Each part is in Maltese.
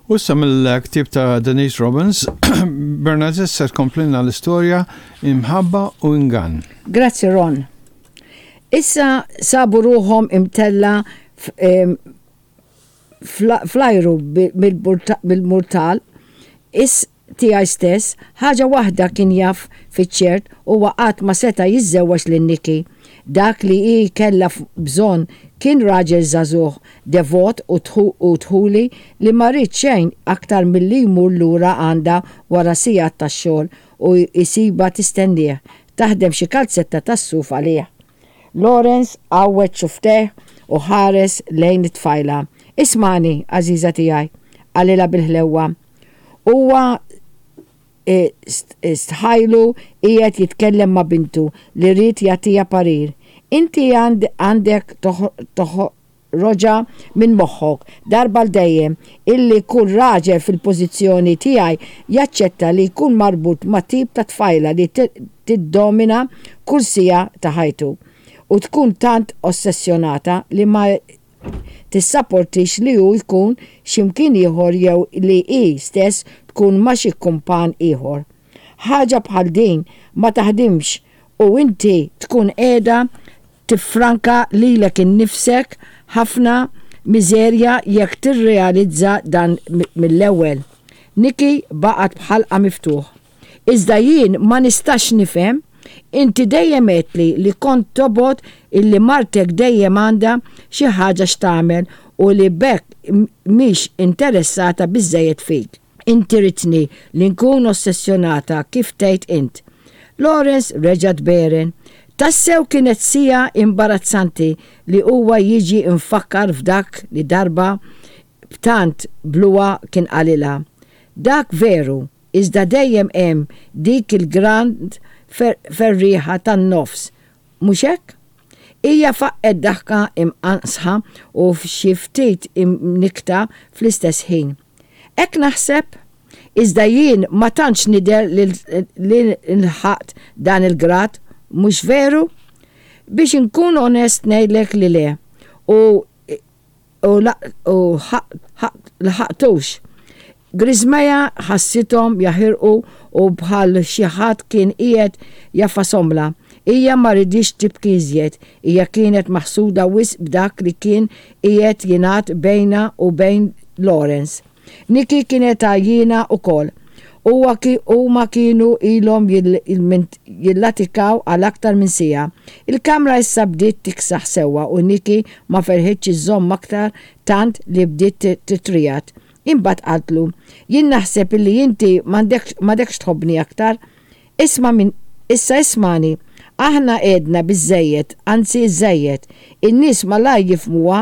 U issa mill-ktieb ta' Denise Robbins, Bernadette se tkomplilna l-istorja Imħabba u Ingann. Grazzi Ron. Issa sabu ruħhom imtella fl-ajru bil-murtal is tiegħi stess, ħaġa waħda kien jaf fiċ-ċert, huwa qatt ma seta' jiżżewweġ lil Nikki. Dak li hi kellha bżonn kien raġel żagħżugħ, devot u dħuli li ma ried xejn aktar milli jmur lura għandha wara sigħat ta' xogħol u jsibha tistennieh, taħdem xi kalzetta tas-suf għalih. Lawrence għawweġ xufftejh u ħares lejn it-tfajla. Ismagħni, għażiża tiegħi, qalilha bil-ħlewwa. Huwa stħajlu qiegħed jitkellem ma' bintu li ried jagħtiha parir. Inti għandek toħroġha minn moħħok darba għal dejjem illi kull raġel fil-pożizzjoni tiegħi jaċċetta li jkun marbut ma' tip ta' tfajla li tiddomina kull siegħa ta' ħajtu u tkun tant ossessjonata li ma tissaportix li hu jkun xi mkien ieħor jew li hi stess tkun ma' xi kumpan ieħor. Ħaġa bħal din ma taħdimx u inti tkun qiegħda tiffranka lilek innifsek ħafna miżerja jekk tirrealizza dan mill-ewwel. Nikki baqgħet b'ħalqha miftuħ. Iżda jien ma nistax nifhem, inti dejjem għedtli li kont tobgħod illi martek dejjem għandha xi ħaġa x'tagħmel u li b'hekk mhix interessata biżżejjed fik. Inti ridtni li nkun ossessjonata kif tgħid int. Lawrence reġa' tberen. Tassew kienet siegħa imbarazzanti li huwa jiġi mfakkar f'dak li darba b'tant bluha kien qalilha. Dak veru, iżda dejjem hemm dik il-grand ferrieħa tan-nofs, mhux hekk? Hija faqqgħet daħka imqanqsħa u xi ftit imnikkta fl-istess ħin. Hekk naħseb? Iżda jien ma tantx nidher li lħaqt dan il-grad, mhux veru? Biex inkun onest ngħidlek li le. U u lħaqtux. Griżmejha ħassithom jaħirqu u bħal xi ħadd kien qiegħed jagħfashomlha. Hija ma riditx tibki iżjed. Hija kienet maħsuda wisq b'dak li kien qiegħed jingħad bejnha u bejn Lawrence. Nikki kienet għajjiena ukoll. Huwa huma kienu ilhom jillatikaw għal aktar minn siegħa. Il-kamra issa bdiet tiksaħ sewwa u Nikki ma felħitx iżżomm aktar tant li bdiet titriegħed. Imbagħad qaltlu, Jien naħseb illi inti m'għadekx tħobbni aktar. Isma' minn issa ismagħni. Aħna għedna biżżejjed, anzi iżżejjed. In-nies malajr jifhmuha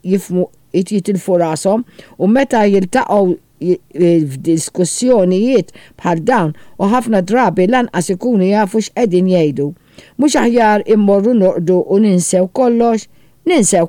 jifhmu jitilfu rashom u meta jiltaqgħu f'diskussjonijiet bħal dawn u ħafna drabi lanqas ikunu jafu x'qegħdin jgħidu. Mhux aħjar immorru norqdu u ninsew kollox? Ninsew.